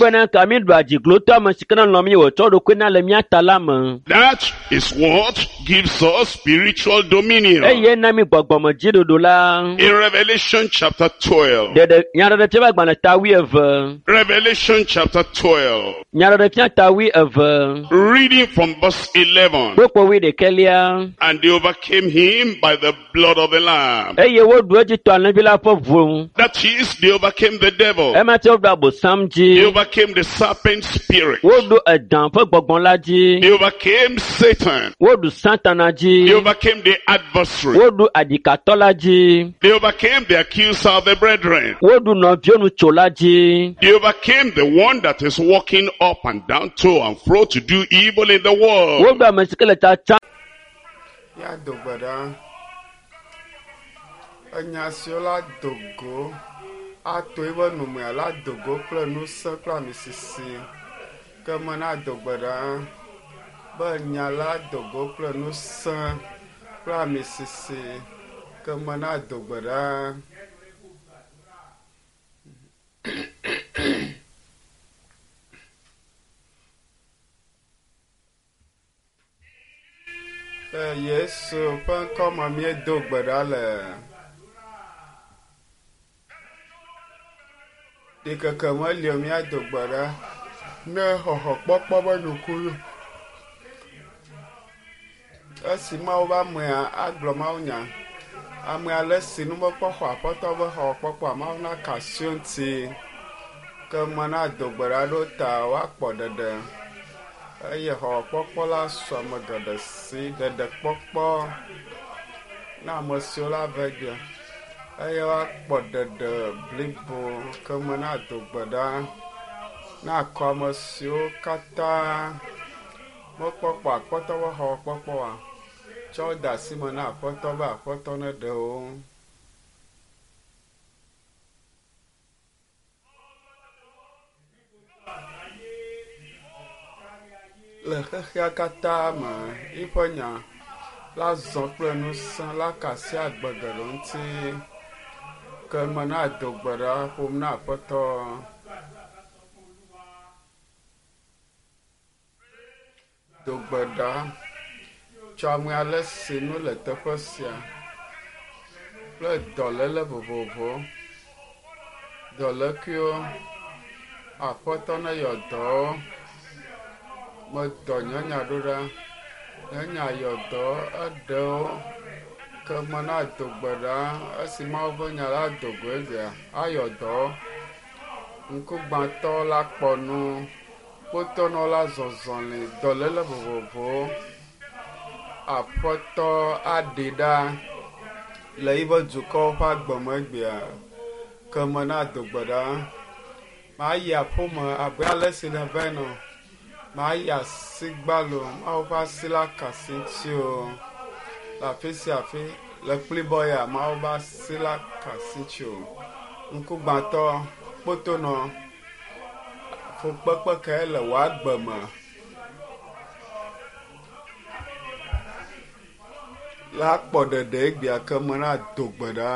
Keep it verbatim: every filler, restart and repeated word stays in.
Bena ka mi ɖu adziglotɔ ame si ke ne lɔ̃ mi wòtsɔ ɖokui na le mía ta la me. That is what gives us spiritual dominion. Eye na mi gbɔgbɔmedziɖuɖu la. In Revelation chapter twelve. Ɖeɖe nyaɖeɖefia ƒe agbalẽ ta wuieve. Revelation chapter twelve. Nyaɖeɖefia ta wuieve. Reading from verse eleven. Kpukpui wuiɖekɛlia. And they overcame him by the blood of the Lamb. Eye woɖu edzi to alẽvi la ƒe ʋu. That is, they overcame the devil. Ema tse woɖu abosam dzi. They overcame the serpent spirit. Woɖu edã ƒe gbɔgbɔ la dzi. They overcame Satan. Woɖu Satana dzi. They overcame the adversary. Woɖu adikatɔ la dzi. They overcame the accuser of the brethren. Woɖu nɔviwonutsola dzi. They overcame the one that is walking up and down to and fro to do evil in the world. Woɖu ame si ke le tsatsa. Ya do gbe ɖa. Enya siwo la do go ato eƒe numea la do go kple ŋusẽ kple amisisi. Ke me na do gbe ɖa be nya la do go kple ŋusẽ kple amisisi. Ke me na do gbe ɖa. Le Yesu ƒe ŋkɔme míedo gbe ɖa le. Ɖikeke meli o míado gbe ɖa ne xɔxɔkpɔkpɔ be nukunu. Esi Mawu be amea agblɔ mawunya. Ame ale si nu mekpɔ xɔ aƒetɔ be xɔxɔkpɔkpɔa, Mawu naka asi wo ŋuti. Ke me nado gbe ɖa ɖo ta woakpɔ ɖeɖe. Eye xɔxɔkpɔkpɔ la su ame geɖe si ɖeɖekpɔkpɔ na ame siwo la va gbea. Eye woakpɔ ɖeɖe blibo ke me nado gbe ɖa na akɔ ame siwo katã mekpɔkpɔ aƒetɔ be xɔxɔkpɔkpɔa tsɔ wo de asi me na aƒetɔ be aƒetɔ neɖe wo. Le xexea katã me eƒe nya la zɔ kple ŋusẽ la ka asi agbe geɖe ŋuti. Ke me nado gbe ɖa ƒom na aƒetɔ. Do gbe ɖa tsɔ ame ale si nu le teƒe sia kple dɔléle vovovowo, dɔlékuiwo, aƒetɔ neyɔ dɔwo. Medɔ nye nya ɖo ɖa. Nye nya yɔ dɔ eɖewo. Ke me nado gbe ɖa esi Mawu ƒe nya la do go egbea ayɔ dɔ. Ŋkugbãtɔ la kpɔ nu, kpotɔnɔ la zɔzɔli, dɔléle vovovowo. Aƒetɔ aɖi ɖa le yiƒe dukɔwo ƒe agbe me egbea. Ke me nado gbe ɖa. Mayi aƒeme abe ale si neva ene. Mayi asi gbalo, Mawu ƒe asi la ka asi ŋuti o. Le afi sia afi, le kplibɔ ya, Mawu ƒe asi la ka asi ŋuti o. Ŋkugbãtɔ, kpotonɔ, fukpekpe kae le wò agbe me? La kpɔ ɖeɖe egbea ke me nado gbe ɖa.